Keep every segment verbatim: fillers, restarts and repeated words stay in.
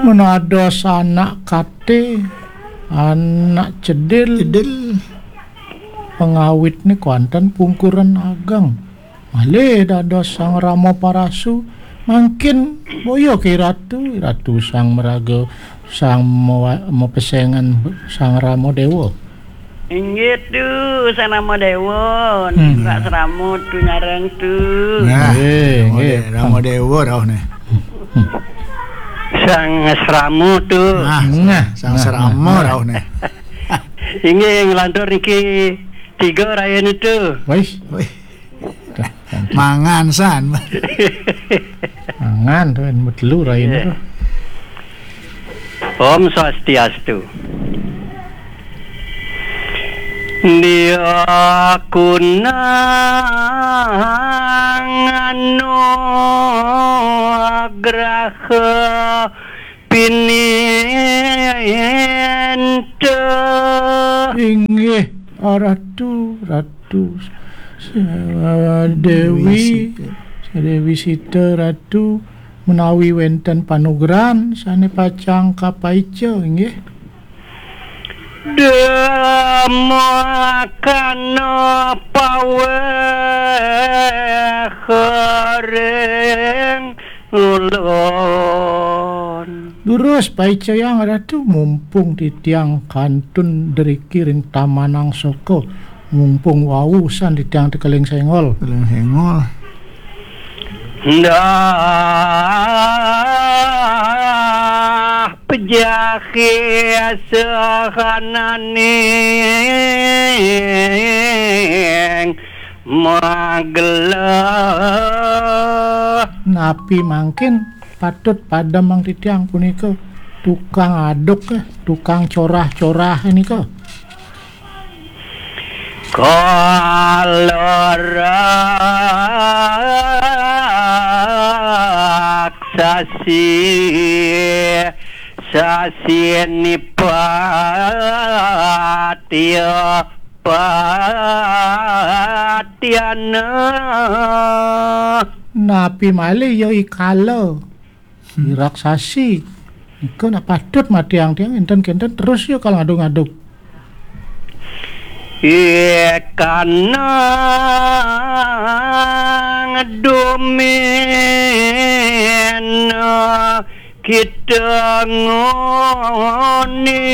Menados anak kate, anak cedil, cedil. Pengawitne kuanten pungkuran ageng. Malih dados Sang Rama Parasu, mangkin boya ke Ratu, Ratu Sang Maraga, Sang Mawa-, Mapesengan, Sang Rama Dewa. Inggih tu, Sang Rama Dewa, hmm. Pak Srama tu nyareng tu. Nah, eh, Rama eh, De-, Rama Dewa rauh nih. Sang Srama tu. Nah, nah, Sang nah, Srama nah, rauh nih. Inggih nglantur niki tiga raya nitu. Wih. Wih. Mangan san. Mangan tu kan, telu raya nitu. Om Swastiastu. Dia kunang anugraha pininta. Inggih, Ratu, Ratu. Dewi, Dewi Sita. Dewi Sita, Ratu, menawi wenten panugrahan sane pacang kapaica, inggih. Demakana paweh ring ulun. Durus paicayang Ratu, mumpung titiang kantun driki ring Taman Angsaka, mumpung wau san titiang tekeling senggol. Tekeling senggol. Ndah pejahi sahananing magelah. Napi mangkin patut pademang titiang punika tukang aduk, eh, tukang corah-corah nika? Kala raksasi sasi nipatya patiana. Napi malih ya I Kala? Hmm. I raksasi. Nika nak patut matiang tiang, enten kenten terus ya kalau ngaduk-ngaduk. Ikanang dumina kita ngoni.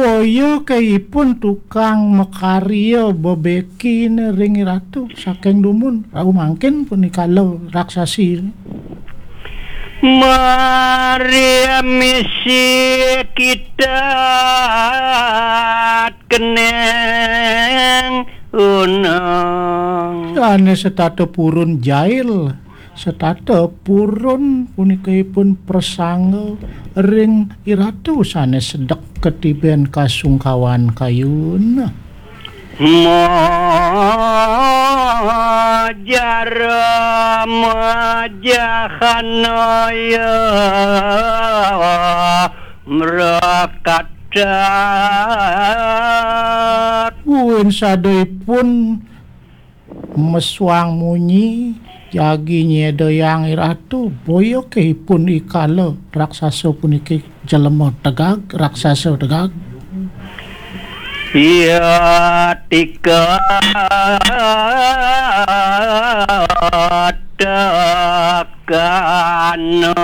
Boya ke ipun tukang makarya bebekine ring Ratu saking dumun, rauh mangkin punika lo raksasi. Mari misi kita keneng unang. Sane setata purun jail, setata purun punika ipun prasangga ring I Ratu sane sedek ketiben kasungkawan kayun. Majara majahanaya mrakatak. Buin sada ipun mesuang munyi, jagi nyedayang I Ratu, boya ke ipun I Kala raksasa puniki jelema tegag, raksasa tegag. Iya tika tekana